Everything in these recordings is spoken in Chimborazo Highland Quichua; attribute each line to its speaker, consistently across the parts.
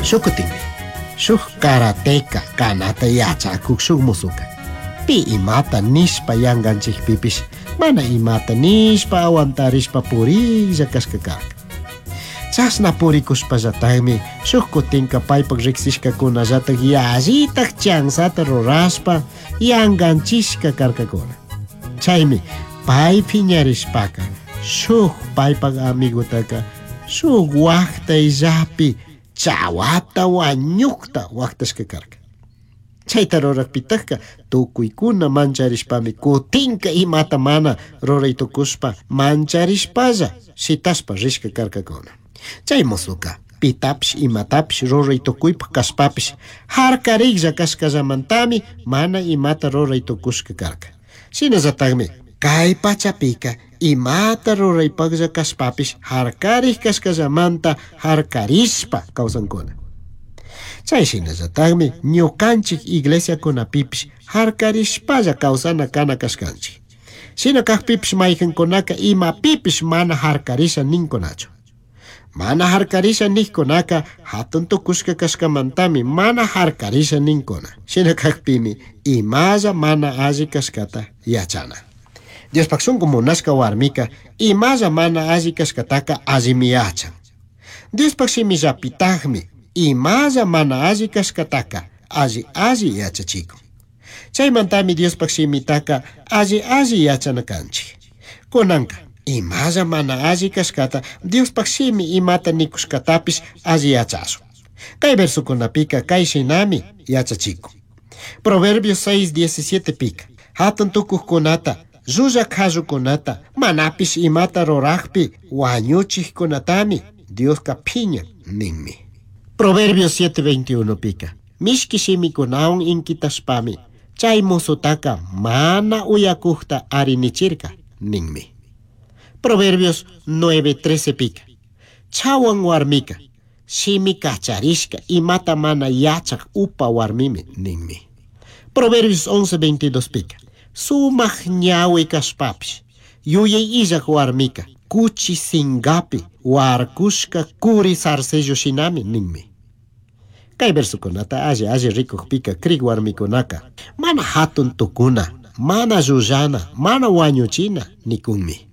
Speaker 1: Shukutinmi, shuk karateka kanata yachakuk shuk musuka. Pi imata nishpa yanganchikpipish mana imata nishpa aguantarishpa purilla kashka karka. Chashna purikushpallatagmi shuk kutinka paypak riksishkakunallatak yallitak chansata rurashpa yanganchishka karkakuna. Chaymi pay phiñarishpaka shuk paypak amigotaka shuk waqtayllapi chawata wañukta waqtashka karka. Chayta rurakpitakka tukuykuna mancharishpami kutinka imata mana ruray tukushpa mancharishpalla shitashpa rishka karkakuna. Chay musuka pitapish imatapish ruray tukuypak kashpapish harkariklla kashkallamantami mana imata ruray tukushka karka. Shinallatakmi kay pachapika imata ruraypaklla kashpapish harkarik kashkallamanta harkarishpa kawsankuna. Chay shinallatakmi ñukanchik iglesiakunapipish harkarishpalla kawsana kana kashkanchik. Shina kakpipish mayqinkunaka imapipish mana harkarisha ninkunachu. Mana harkarisha nikkunaka hatun tukushka kashkamantami mana harkarisha ninkuna. Shina kakpimi imalla mana alli kashkata yachana. Diospaq shunqu munashka warmika imalla mana alli kashkataka allimi yachan. Diospaq shimillapitaqmi imalla mana alli kashkataka alli alli yachachikun. Chaymantami Diospaq shimitaka alli alli yachana kanchik. Kunanka imalla mana alli kashkata Diospaq shimi imata nikushkatapish alli yachashun. Kay versukunapika kay shinami yachachikun. Proverbios 6:17 pika. Hatun tukuqkunata, llullaq qallukunata, manapish imata ruraqpi wañuchiqkunatami Dioska phiñan ninmi. Proverbios 7:21 pika. Mishki shimikunawan inkitashpami chay musutaka mana uyakuqta arinichirka ninmi. Proverbios 9:13 pika. Chawan warmika shimi kacharishka imata mana yachaq upa warmimi ninmi. Proverbios 11:22 pika. Sumaq ñawi kashpapish yuyay illaq warmika kuchi singapi warkushka kuri zarcillo shinami ninmi. Kay versukunata alli alli rikukpika krik warmikunaka mana hatun tukuna, mana llullana, mana wañuchina nikunmi.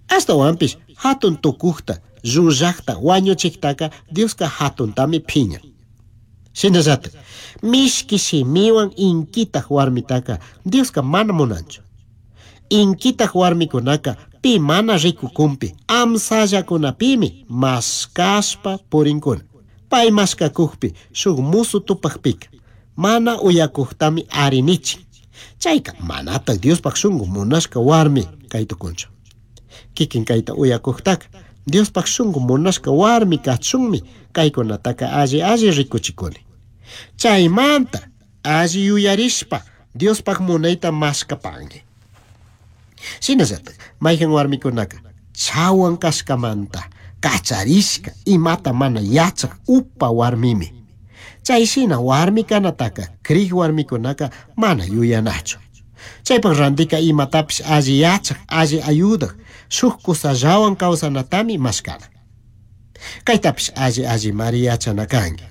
Speaker 1: Ashtawanpish hatun tukuqta, llullaqta, wañuchiqtaka Dioska hatuntami phiñan. Shinallatak mishki shimiwan inkitaq warmitaka Dioska mana munanchu. Inkitaq warmikunaka pi mana rikukunpi amsallakunapimi mashkashpa purinkuna. Pay mashkakukpi shuk musu tupaqpika mana uyakuqtami arinichin. Chayka manataq Diospaq shunqu munashka warmi kay tukunchu. Kikin kayta uyakuqtaka Diospaq shunqu munashka warmi kachunmi kaykunataka alli alli rikuchikuni. Chaymanta alli yuyarishpa Diospaq munayta mashkapanki. Shinallatak mayqin warmikunaka chawan kashkamanta kacharishka imata mana yachaq upa warmimi. Chay shina warmi kanataka krik warmikunaka mana yuyanachu. Chaypaq rantika imatapish alli yachaq, alli ayudaq, shuk kusallawan kawsanatami mashkana. Kaytapish alli allimari yachana kanki.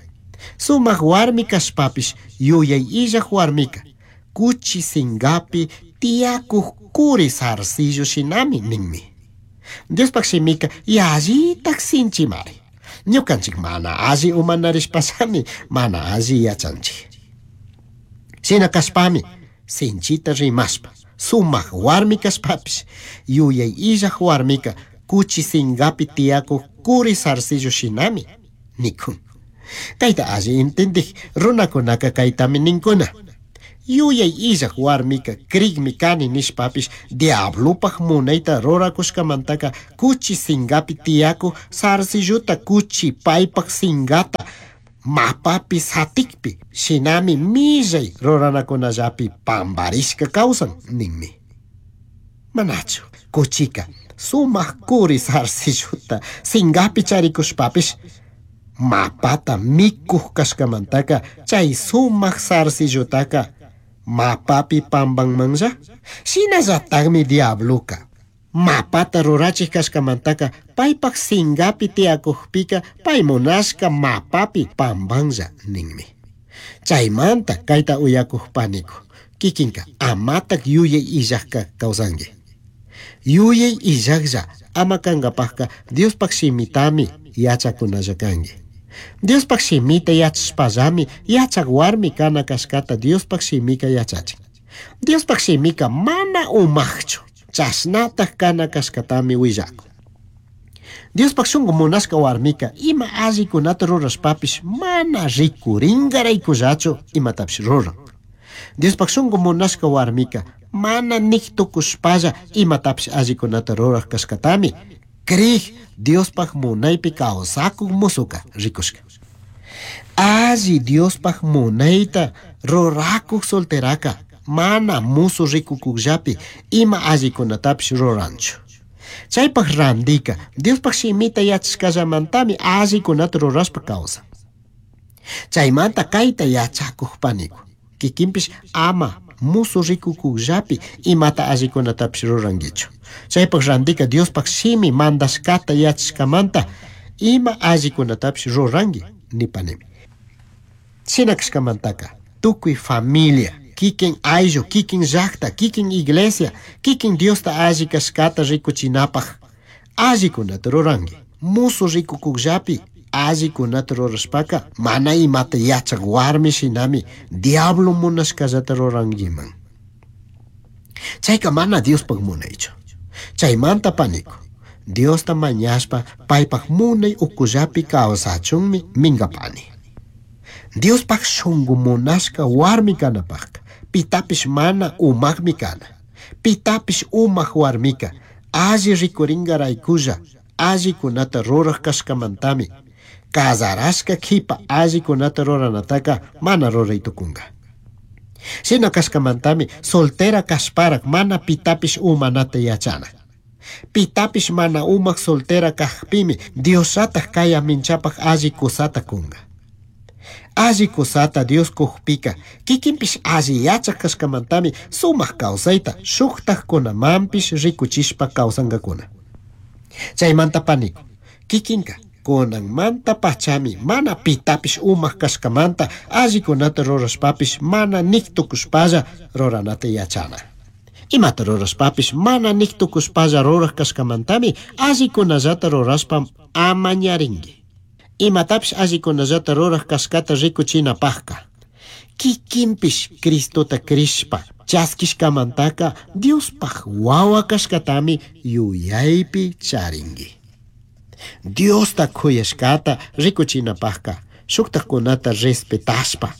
Speaker 1: Sumaq warmi kashpapish yuyay illaq warmika kuchi singapi tiyakuq kuri zarcillo shinami ninmi. Diospaq shimika yallitaq sinchimari. Ñukanchik mana alli umanarishpallami mana alli yachanchik. Shina kashpami sinchita rimashpa sumaq warmi kashpapish yuyay illaq warmika kuchi singapi tiyakuq kuri zarcillo shinami nikun. Kayta alli intindik runakunaka kaytami ninkuna. Yuyay illaq warmika krikmi kani nishpapish diablopaq munayta rurakushkamantaka kuchi singapi tiyakuq zarcillota kuchi paypaq singata mapapi satikpi shinami millay ruranakunallapi pamparishka kawsan ninmi. Manachu kuchika sumaq kuri zarcillota singapi charikushpapish mapata mikuq kashkamantaka chay sumaq zarcillotaka mapapi pampanmanlla. Shinallatakmi diabloka mapata rurachik kashkamantaka Paipaj singapi tiyakujpika pay munashka mapapi pambanlla ninmi. Chaymanta kayta uyakuj paniku, kikinka amatak yuyay illajka kawsanki. Yuyay illajlla ama kankapajka Diospaj shimitami yachakunalla kanki. Diospaj shimita yachashpallami yachak warmi kana kashkata Diospaj shimika yachachin. Diospaj shimika mana umajchu, chashnataj kana kashkatami willakun. Diospaj shunku munashka warmika ima allikunata rurashpapish mana rikurinkaraykullachu imatapish ruran. Diospaj shunku munashka warmika mana nik tukushpalla imatapish allikunata ruraj kashkatami krij Diospaj munaypi kawsakuk musuka rikushka. Alli Diospaj munayta rurakuk solteraka mana musu rikukukllapi ima allikunatapish ruranchu. Chaypaj randika Diospaj shimita yachashkallamantami allikunata rurashpa kawsan. Chaymanta kayta yachakuj paniku, kikinpish ama musu rikukukllapi imata allikunatapish rurankichu. Chaypaj randika Diospaj shimi mandashkata yachashkamanta ima allikunatapish ruranki nipanimi. Shina kashkamantaka tukuy familia, kikin ayllu, kikin llakta, kikin iglesia, kikin Diosta alli kashkata rikuchinapaj allikunata ruranki. Musu rikukukllapi allikunata rurashpaka mana imata yachak warmi shinami diablo munashkallata rurankiman. Chayka mana Diospaj munaychu. Chaymanta paniku, Diosta mañashpa paypaj munay ukullapi kawsachunmi minkapani. Diospaj shunku munashka warmi kanapajka pitapish mana umakmi kana. Pitapish umak warmika alli rikurinkaraykulla allikunata ruraj kashkamantami kazarashka kipa allikunata ruranataka mana ruray tukunka. Shina kashkamantami soltera kashparak mana pitapish umanata yachana. Pitapish mana umak soltera kajpimi Diosllataj kay minchapaj alli kusata kunka. Alli kusata Dios kujpika kikinpish alli yachak kashkamantami sumak kawsayta shuktajkunamanpish rikuchishpa kawsankakuna. Chaymanta paniku, kikinka kunanmanta pachami mana pitapish umak kashkamanta allikunata rurashpapish mana nik tukushpalla ruranata yachana. Imata rurashpapish mana nik tukushpalla ruraj kashkamantami allikunallata rurashpa amañarinki. Imatapish allikunallata ruraj kashkata rikuchinapajka kikinpish Cristota krishpa chaskishkamantaka Diospaj wawa kashkatami yuyaypi charinki. Diosta kuyashkata rikuchinapajka shuktajkunata respetashpa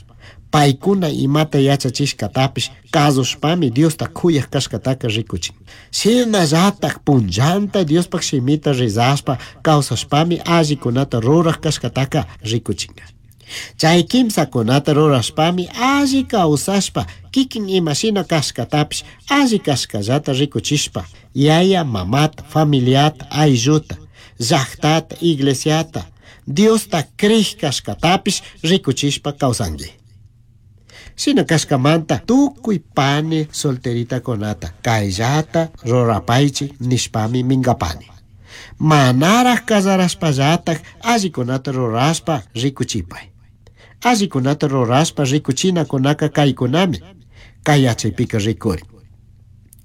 Speaker 1: paykuna imata yachachishkatapish kasushpami Diosta kuyaj kashkataka rikuchin. Shinallataj punllanta Diospaj shimita rezashpa kawsashpami allikunata ruraj kashkataka rikuchinka. Chay kimsakunata rurashpami alli kawsashpa kikin imashina kashkatapish alli kashkallata rikuchishpa yaya mamata, familiata, aylluta, llajtata, iglesiata, Diosta krij kashkatapish rikuchishpa kawsanki. Shina kashkamanta tukuy pani solteritakunata kayllata rurapaychik nishpami minkapani. Manaraj kazarashpallataj allikunata rurashpa rikuchipay. Allikunata rurashpa rikuchinakunaka kaykunami kay yachaypika rikurin.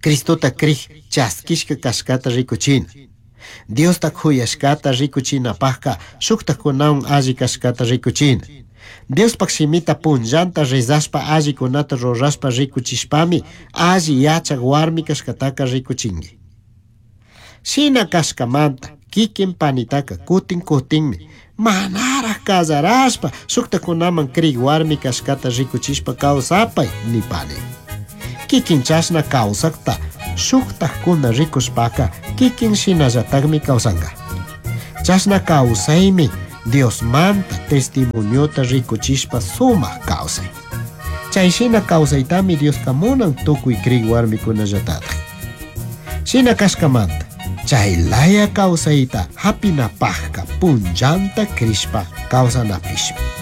Speaker 1: Cristota krij chaskishka kashkata rikuchina. Diosta kuyashkata rikuchinapajka shuktajkunawan alli kashkata rikuchina. Diospaj shimita punllanta rezashpa allikunata rurashpa rikuchishpami alli yachak warmi kashkataka rikuchinki. Shina kashkamanta kikin panitaka kutin kutinmi manaraj kazarashpa shuktakunaman krik warmi kashkata rikuchishpa kawsapay nipani. Kikin chashna kawsakta shuktajkuna rikushpaka kikin shinallatakmi kawsanka. Chashna kawsaymi Diosmanta testimoniota rikuchishpa sumak kawsay. Chay shina kawsaytami Dioska munan tukuy krik warmikunallatataq. Shina kashkamanta chay laya kawsayta hapinapajka punllanta krishpa kawsanapishmi.